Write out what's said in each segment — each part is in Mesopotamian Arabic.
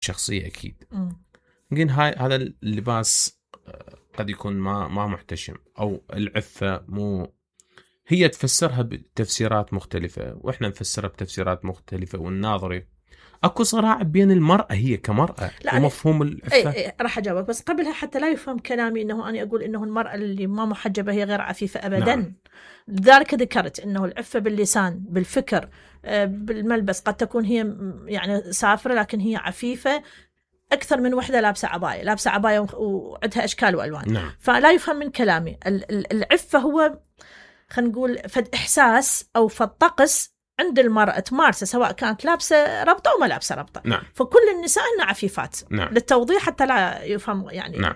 شخصية أكيد. يمكن هذا اللباس قد يكون ما محتشم، أو العفة مو هي تفسرها بتفسيرات مختلفة وإحنا نفسرها بتفسيرات مختلفة، والناظري أكو صراع بين المرأة هي كمرأة ومفهوم العفة. أي راح أجاوبك، بس قبلها حتى لا يفهم كلامي أنه أنا أقول أنه المرأة اللي ما محجبة هي غير عفيفة أبدا. نعم. لذلك ذكرت أنه العفة باللسان بالفكر بالملبس قد تكون هي يعني سافرة لكن هي عفيفة أكثر من وحدة لابسة عباية وعندها أشكال وألوان. نعم. فلا يفهم من كلامي. العفة هو خلينا نقول فد إحساس أو فد طقس عند المرأة تمارسه سواء كانت لابسة ربطة أو ما لابسة ربطة. نعم. فكل النساء هن عفيفات. نعم. للتوضيح حتى لا يفهم يعني. نعم.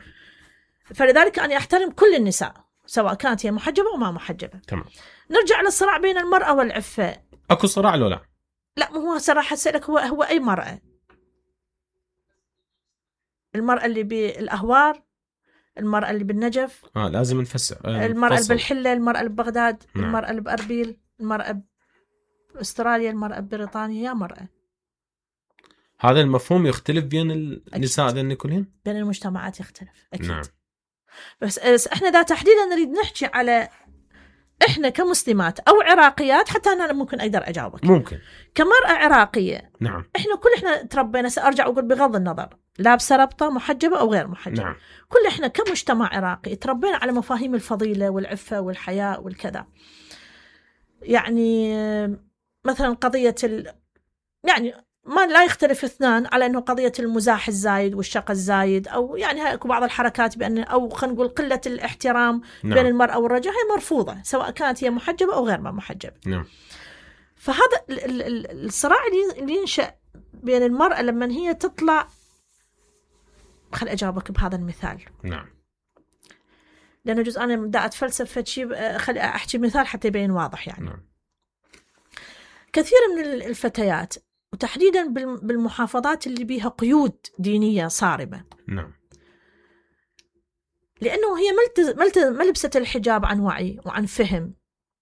فلذلك أنا أحترم كل النساء سواء كانت هي محجبة أو ما محجبة. تمام. نرجع للصراع بين المرأة والعفة. أكو صراع ولا لا مو هو صراحة أسألك هو أي مرأة؟ المرأة اللي بالأهوار، المرأة اللي بالنجف، لازم نفسر المرأة اللي بالحلة، المرأة اللي ببغداد. نعم. المرأة اللي بأربيل، المرأة بأستراليا، المرأة ببريطانيا، يا مرأة. هذا المفهوم يختلف بين النساء ذن كلهن، بين المجتمعات يختلف أكيد. نعم. بس إحنا ذا تحديدا نريد نحكي على إحنا كمسلمات أو عراقيات، حتى أنا ممكن أقدر أجاوبك. ممكن كمرأة عراقية. نعم. إحنا تربينا، سأرجع أقول بغض النظر لابسة ربطة محجبة أو غير محجبة. نعم. إحنا كمجتمع عراقي تربينا على مفاهيم الفضيلة والعفة والحياء والكذا. يعني مثلا قضية يعني ما لا يختلف اثنان على أنه قضية المزاح الزايد والشق الزايد، أو يعني بعض الحركات بأن أو خلينا نقول قلة الاحترام. نعم. بين المرأة والرجل هي مرفوضة سواء كانت هي محجبة أو غير ما محجبة. نعم. فهذا الصراع اللي ينشأ بين المرأة لما هي تطلع. خل أجاوبك بهذا المثال. نعم. لأنه جزء أنا بدأت أتفلسف شيء، خل أحكي مثال حتى يبين واضح يعني. نعم. كثير من الفتيات وتحديدا بالمحافظات اللي بيها قيود دينية صارمة. نعم. لأنه هي ما لبست الحجاب عن وعي وعن فهم،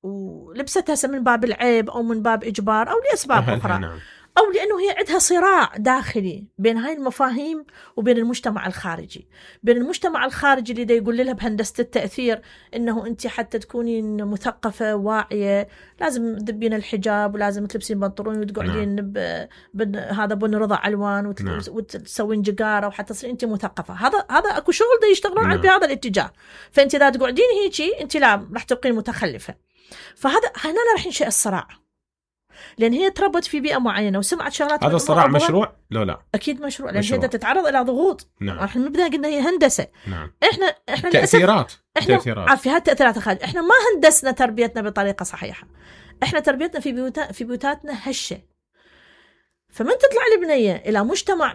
ولبستها من باب العيب أو من باب إجبار أو لأسباب أخرى. نعم. أو لأنه هي عندها صراع داخلي بين هاي المفاهيم وبين المجتمع الخارجي. بين المجتمع الخارجي اللي دا يقول لها بهندسة التأثير إنه أنت حتى تكونين مثقفة واعية لازم تدبين الحجاب ولازم تلبسين بنطلون وتقعدين هذا بن رضع ألوان وتسوين جقارة وحتى تصير أنت مثقفة. هذا أكو شغل دا يشتغلون على بهذا الاتجاه. فأنت إذا تقعدين هيجي أنت لا راح تبقين متخلفة. فهذا هنا راح ينشأ الصراع، لأن هي تربت في بيئة معينة وسمعت شغلات. هذا الصراع مشروع؟ لا أكيد مشروع، لأن هي تتعرض إلى ضغوط. نعم. احنا نبدأ قلنا هي هندسة. نعم. احنا تأثيرات. احنا في هذه التأثيرات الخارجية. احنا ما هندسنا تربيتنا بطريقة صحيحة. احنا تربيتنا في بيوتاتنا هشة. فمن تطلع البنية إلى مجتمع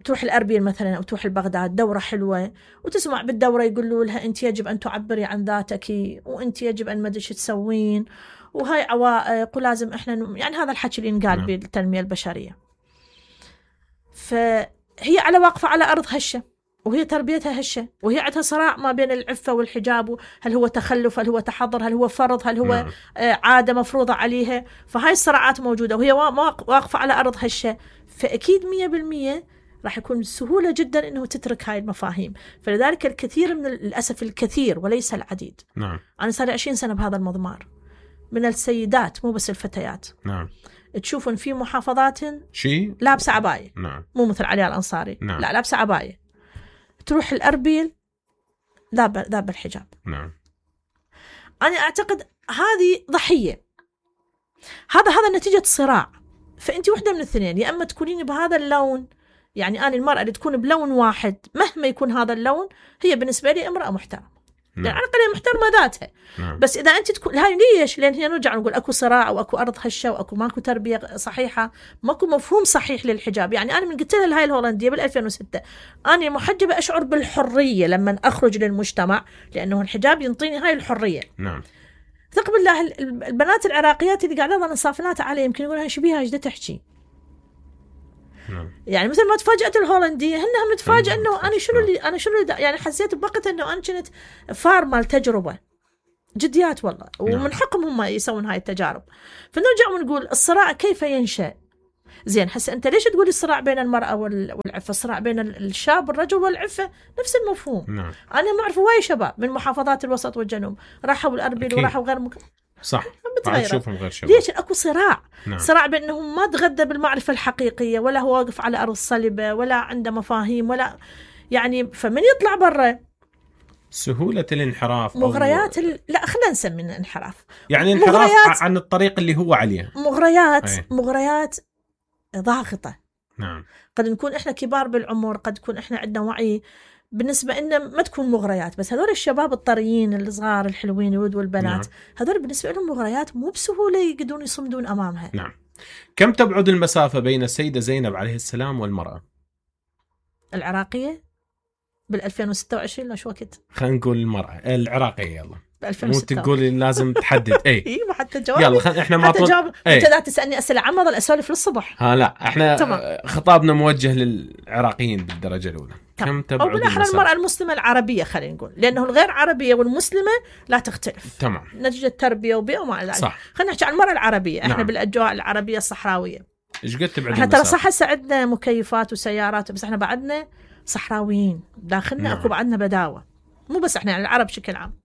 تروح الأربيل مثلا أو تروح البغداد دورة حلوة، وتسمع بالدورة يقولوا لها أنت يجب أن تعبري عن ذاتك، وأنت يجب أن ما أدري شو تسوين، وهاي عوائق ولازم إحنا يعني هذا الحكي اللي ينقال بالتنمية البشرية. فهي على واقفة على أرض هشة، وهي تربيتها هشة، وهي عندها صراع ما بين العفة والحجاب. هل هو تخلف، هل هو تحضر، هل هو فرض، هل هو عادة مفروضة عليها. فهاي الصراعات موجودة وهي واقفة على أرض هشة. فأكيد 100% راح يكون سهولة جدا أنه تترك هاي المفاهيم. فلذلك الكثير من الأسف الكثير وليس العديد. نعم. أنا صار 20 سنة بهذا المضمار، من السيدات مو بس الفتيات. نعم. تشوفون في محافظات شيء لابسة عباية. نعم. مو مثل علياء الأنصاري. نعم. لا لابسة عباية، تروح الأربيل ذاب الحجاب. نعم. أنا أعتقد هذه ضحية. هذا نتيجة صراع. فأنت وحدة من الاثنين، يا أما تكونين بهذا اللون، يعني أنا المرأة اللي تكون بلون واحد مهما يكون هذا اللون هي بالنسبة لي امرأة محترمة. نعم. يعني على الأقل محترمة ذاتها. نعم. بس إذا أنت تكون هاي ليش؟ لأن هي نرجع نقول أكو صراع وأكو أرض هشة وأكو ماكو تربية صحيحة، ماكو مفهوم صحيح للحجاب. يعني أنا من قلت لها هاي الهولندية بال2006 أنا محجبة أشعر بالحرية لما أخرج للمجتمع، لأنه الحجاب ينطيني هاي الحرية. نعم. ثق بالله البنات العراقيات اللي قاعدة أنا صافنات علي يمكن يقولها شو بيها جدا تحكي. يعني مثل ما تفاجأت الهولندية هنها متفاجئة إنه أنا شنو يعني حسيت بوقت إنه أنا كنت فارمة التجربة جديات والله، ومن حقهم هم يسوون هاي التجارب. فنرجع ونقول الصراع كيف ينشأ؟ زين هسه أنت ليش تقول الصراع بين المرأة والعفة؟ الصراع بين الشاب والرجل والعفة نفس المفهوم. نعم. أنا ما أعرف وايد شباب من محافظات الوسط والجنوب راحوا الأربيل وراحوا غير صح تشوفهم غير شباب. ليش اكو صراع؟ نعم. صراع بانهم ما تغذى بالمعرفه الحقيقيه، ولا هو واقف على ارض صلبه، ولا عنده مفاهيم، ولا يعني فمن يطلع برا سهوله الانحراف مغريات لا خلينا نسميها انحراف، يعني انحراف عن الطريق اللي هو عليه. مغريات ضاغطه. نعم. قد نكون احنا كبار بالعمر، قد نكون احنا عندنا وعي بالنسبة إنه ما تكون مغريات، بس هذول الشباب الطريين الصغار الحلوين الولد والبنات. نعم. هذول بالنسبة لهم مغريات مو بسهولة يقدرون يصمدون أمامها. نعم. كم تبعد المسافة بين السيدة زينب عليه السلام والمرأة العراقية بال2026 لا شو وقت؟ خلينا نقول المرأة العراقية. يلا مو 2006. تقولي لازم تحدد. اي ما حتى جواب. يلا احنا ما انت لا تسالني اسئله عامه ظل اسولف للصبح. لا احنا خطابنا موجه للعراقيين بالدرجه الاولى. كم تبعد او بالاحرى المراه المسلمه العربيه خلينا نقول، لانه الغير عربيه والمسلمه لا تختلف. تمام. نتيجه تربيه وبيئه وما الى ذلك. خلينا نحكي عن المراه العربيه. احنا نعم. بالاجواء العربيه الصحراويه. ايش قد تبعد احنا ترى صح هسه عندنا مكيفات وسيارات، بس احنا بعدنا صحراويين داخلنا. نعم. اكو بعدنا بداوه، مو بس احنا يعني العرب بشكل عام.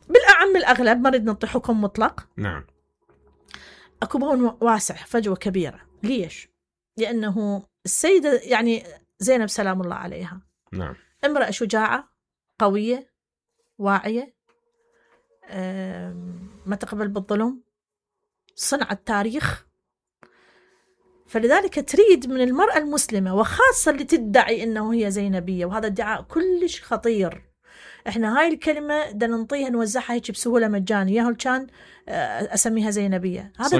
بالأعم الأغلب ما نريد نعطي حكم مطلق. نعم. أكو بون واسع، فجوة كبيرة. ليش؟ لأنه السيدة يعني زينب سلام الله عليها. نعم. امرأة شجاعة قوية واعية، ما تقبل بالظلم، صنعت تاريخ. فلذلك تريد من المرأة المسلمة، وخاصة اللي تدعي أنه هي زينبية، وهذا ادعاء كلش خطير. احنا هاي الكلمة دا ننطيها نوزعها هيك بسهولة مجانية، كان اسميها زينبية. هذا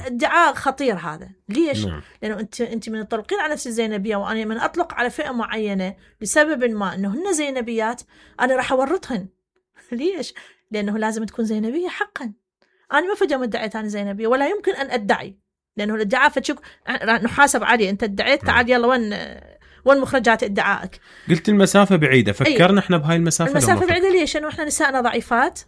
ادعاء خطير هذا. ليش؟ نعم. لانه انت من تطلقين على نفس الزينبية، وانا من اطلق على فئة معينة لسبب ما انه هن زينبيات، انا راح اورطهن. ليش؟ لانه لازم تكون زينبية حقا. انا ما فجأة ادعيت انا زينبية، ولا يمكن ان ادعي، لانه الادعاء فتشوف نحاسب عليه. انت ادعيت، تعال يلا وين مخرجات ادعائك؟ قلت المسافة بعيدة، فكرنا احنا بهاي المسافة بعيدة. ليش؟ لأنه احنا نسائنا ضعيفات،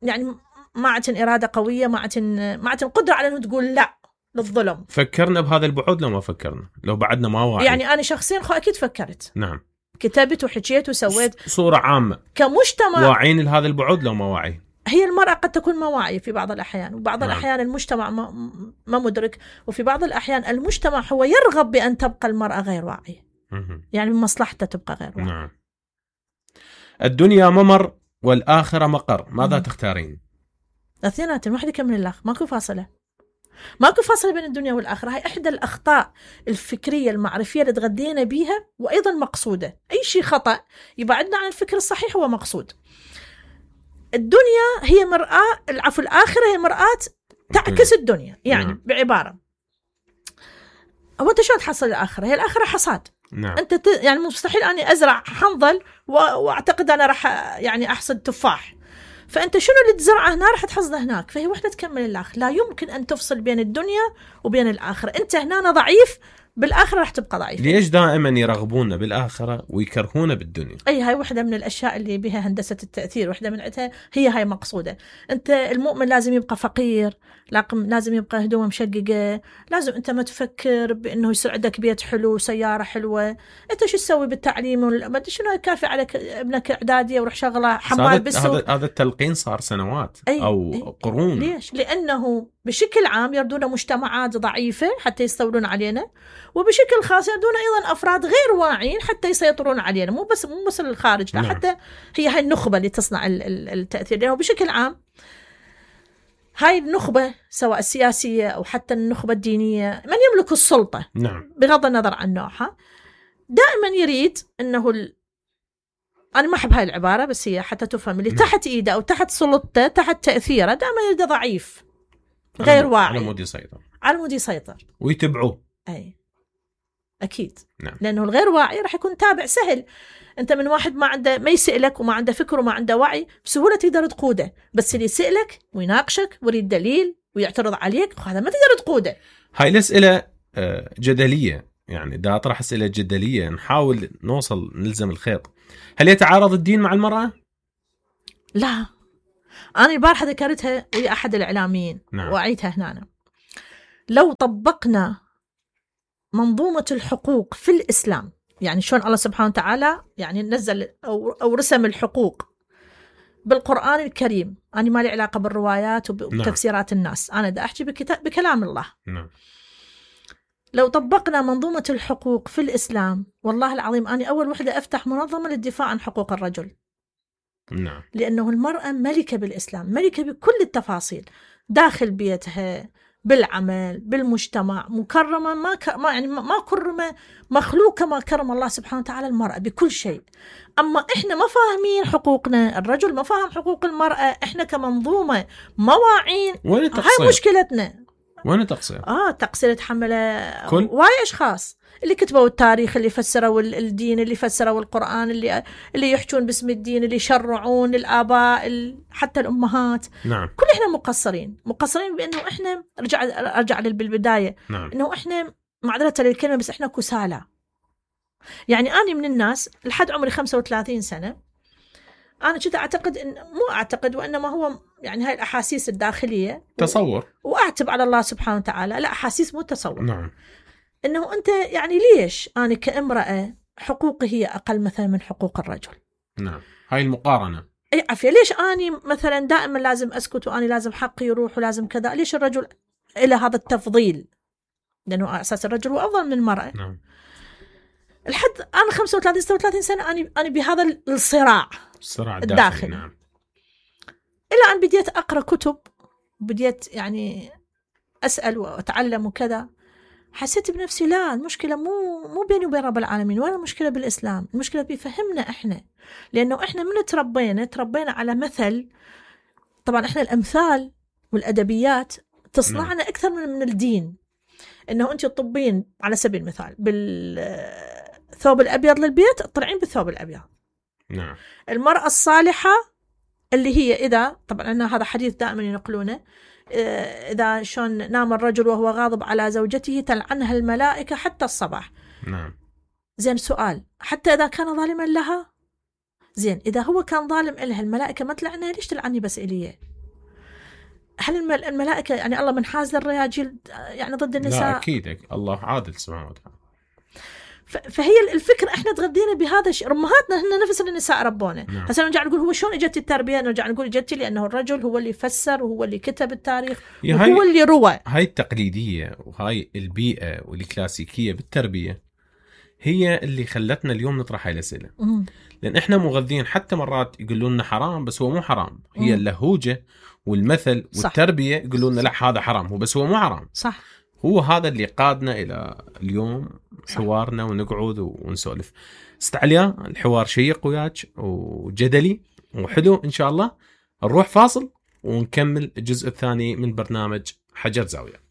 يعني ما عندن إرادة قوية، ما عندن قدرة على أنه تقول لا للظلم. فكرنا بهذا البعد لو ما فكرنا، لو بعدنا ما واعي. يعني أنا شخصيا أكيد فكرت. نعم. كتبت وحكيت وسويت صورة عامة كمجتمع. واعين لهذا البعد لو ما واعي. هي المرأة قد تكون ما واعية في بعض الأحيان، وبعض الأحيان المجتمع ما مدرك، وفي بعض الأحيان المجتمع هو يرغب بأن تبقى المرأة غير واعية. يعني من مصلحته تبقى غير واعية. نعم. الدنيا ممر والآخرة مقر، ماذا تختارين؟ الاثنين، واحد يكمل الآخر، ماكو فاصلة بين الدنيا والآخرة. هاي إحدى الأخطاء الفكرية المعرفية اللي تغذينا بيها، وأيضا مقصودة. أي شيء خطأ يبعدنا عن الفكر الصحيح هو مقصود. الدنيا هي مرآة، الآخرة هي مرآة تعكس الدنيا. يعني بعبارة، هو أنت شلون تحصل الآخرة؟ هي الآخرة حصاد. نعم. أنت يعني مستحيل أني أزرع حنظل وأعتقد أنا راح يعني أحصد تفاح. فأنت شنو اللي تزرعه هنا راح تحصده هناك. فهي وحدة تكمل الآخر. لا يمكن أن تفصل بين الدنيا وبين الآخرة. أنت هنا ضعيف، بالآخرة راح تبقى ضعيف. ليش دائما يرغبون بالآخرة ويكرهون بالدنيا؟ هاي واحدة من الأشياء اللي بها هندسة التأثير. واحدة من عدها هي هاي مقصودة. أنت المؤمن لازم يبقى فقير، لازم يبقى هدومه مشققة، لازم أنت ما تفكر بأنه يصير عندك بيت حلو سيارة حلوة. أنت شو تسوي بالتعليم؟ ما أدري شنو كافي عليك ابنك إعدادية وروح شغله حمال بالسوق. هذا التلقين صار سنوات أو قرون. ليش؟ لأنه بشكل عام يردون مجتمعات ضعيفة حتى يستولون علينا، وبشكل خاص يردون أيضا أفراد غير واعين حتى يسيطرون علينا. مو بس الخارج، لا. حتى هي هاي النخبة اللي تصنع التأثير. لأنه بشكل عام هاي النخبة سواء السياسية أو حتى النخبة الدينية، من يملك السلطة، نعم، بغض النظر عن نوعها، دائما يريد أنه أنا ما أحب هاي العبارة بس هي حتى تفهم، اللي تحت إيده أو تحت سلطته تحت تأثيره دائما يريد ضعيف غير واعي، على مود يسيطر ويتبعوه. أي أكيد. نعم. لأنه الغير واعي راح يكون تابع سهل. أنت من واحد ما يسألك وما عنده فكر وما عنده وعي بسهولة تقدر تقوده، بس اللي يسألك ويناقشك ويريد دليل ويعترض عليك هذا ما تقدر تقوده. هاي الأسئلة جدلية، يعني دا أطرح أسئلة جدلية نحاول نلزم الخيط. هل يتعارض الدين مع المرأة؟ لا، أنا البارحة ذكرتها ويا أحد الإعلاميين. نعم. وأعيدها هنا. لو طبقنا منظومة الحقوق في الإسلام، يعني شلون الله سبحانه وتعالى يعني نزل أو رسم الحقوق بالقرآن الكريم. أنا ما لي علاقة بالروايات وتفسيرات الناس، أنا دا أحكي بكلام الله. نعم. لو طبقنا منظومة الحقوق في الإسلام، والله العظيم أنا أول وحدة أفتح منظمة للدفاع عن حقوق الرجل. نعم. لأنه المرأة ملكة بالإسلام، ملكة بكل التفاصيل، داخل بيتها، بالعمل، بالمجتمع، مكرمة ما كرم مخلوق كما كرم الله سبحانه وتعالى المرأة بكل شيء. أما إحنا ما فاهمين حقوقنا، الرجل ما فاهم حقوق المرأة، إحنا كمنظومة مواعين. هاي مشكلتنا. وين تقصير؟ تقصير تحمل واي أشخاص اللي كتبوا التاريخ، اللي فسروا الدين، اللي فسروا القرآن، اللي يحجون باسم الدين، اللي يشرعون، الآباء، حتى الأمهات. نعم. كل إحنا مقصرين بأنه إحنا رجع بالبداية. نعم. إنه إحنا معذرة للكلمة بس إحنا كسالى. يعني أنا من الناس لحد عمري 35 سنة أنا كنت أعتقد مو أعتقد وإنما هو يعني هاي الأحاسيس الداخلية تصور، وأعتب على الله سبحانه وتعالى. لا، أحاسيس مو تصور. نعم. إنه أنت يعني ليش أنا كامرأة حقوقي هي أقل مثلا من حقوق الرجل؟ نعم. هاي المقارنة. أي عافية. ليش أنا مثلا دائما لازم أسكت وأنا لازم حقي يروح ولازم كذا؟ ليش الرجل إلى هذا التفضيل؟ لأنه أساس الرجل هو أفضل من المرأة. نعم. لحد أنا 35-36 سنة أنا بهذا الصراع الداخلي. نعم. إلى أن بديت أقرأ كتب، بديت يعني أسأل وأتعلم وكذا، حسيت بنفسي لا، المشكلة مو بيني وبين رب العالمين، ولا المشكلة بالإسلام، المشكلة بفهمنا إحنا. لأنه إحنا من تربينا على مثل. طبعا إحنا الأمثال والأدبيات تصنعنا أكثر من الدين. إنه أنت تطبين على سبيل المثال بالثوب الأبيض للبيت، تطلعين بالثوب الأبيض. نعم. المرأة الصالحة اللي هي إذا، طبعا أنا هذا حديث دائما ينقلونه، إذا شون نام الرجل وهو غاضب على زوجته تلعنها الملائكة حتى الصباح. نعم. زين، سؤال، حتى إذا كان ظالما لها؟ زين، إذا هو كان ظالم إلها الملائكة ما تلعنها، ليش تلعني بس إليه؟ هل الملائكة يعني الله منحاز للرجال يعني ضد النساء؟ لا أكيد، الله عادل سبحانه وتعالى. فهي الفكرة احنا تغذينا بهذا الشيء. امهاتنا هن نفس النساء ربونا. هسه نرجع نقول هو شلون اجت التربيه؟ نرجع نقول اجت لانه الرجل هو اللي فسر وهو اللي كتب التاريخ وهو اللي روى. هاي التقليديه وهاي البيئه والكلاسيكيه بالتربيه هي اللي خلتنا اليوم نطرح هاي الاسئله. لان احنا مغذين، حتى مرات يقولون لنا حرام بس هو مو حرام. هي اللهوجه والمثل والتربيه يقولون لنا لا هذا حرام هو بس هو مو حرام. صح. هو هذا اللي قادنا الى اليوم حوارنا ونقعد ونسولف. استعليا الحوار شيق وياك وجدلي وحلو. ان شاء الله نروح فاصل ونكمل الجزء الثاني من برنامج حجر زاوية.